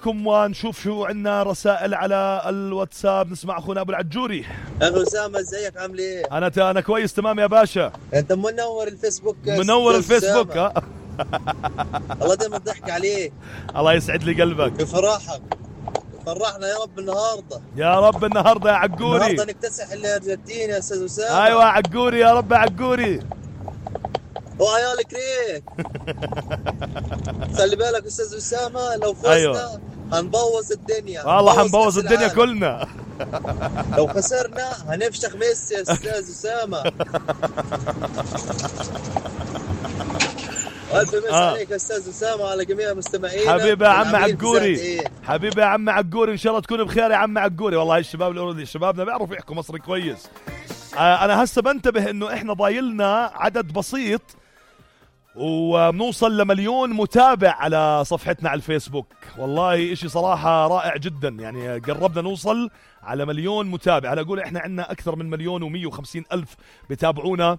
ونشوف شو عنا رسائل على الواتساب. نسمع اخونا ابو العجوري. اخو اسامه ازيك عامل ايه؟ انا كويس تمام يا باشا. انت منور الفيسبوك. منور الفيسبوك الله دايما ضحك عليك. الله يسعد لي قلبك. بفرحك فرحنا يا رب النهارده. يا رب النهارده يا عقوري. النهارده نكتسح الارجنتين يا استاذ اسامه. ايوه يا عقوري يا رب يا عقوري. وعيال كريك. خلي بالك استاذ اسامه لو فزنا أيوة. هنبوظ الدنيا. والله هنبوظ الدنيا كلنا. لو خسرنا هنفشخ ميسي يا استاذ اسامه. ألف مسا عليك يا أستاذ أسامة وعلى جميع مستمعينا. حبيبي يا عم عقوري. حبيبي يا عم عقوري، إن شاء الله تكون بخير يا عم عقوري. والله الشباب الأوروبي شبابنا بيعرفوا يحكوا مصري كويس. أنا هسه بنتبه إنه إحنا ضايلنا عدد بسيط وبنوصل ل1,000,000 متابع على صفحتنا على الفيسبوك. والله إشي صراحة رائع جدا، يعني قربنا نوصل على 1,000,000 متابع. هلا أقول إحنا عندنا أكثر من 1,150,000 بتابعونا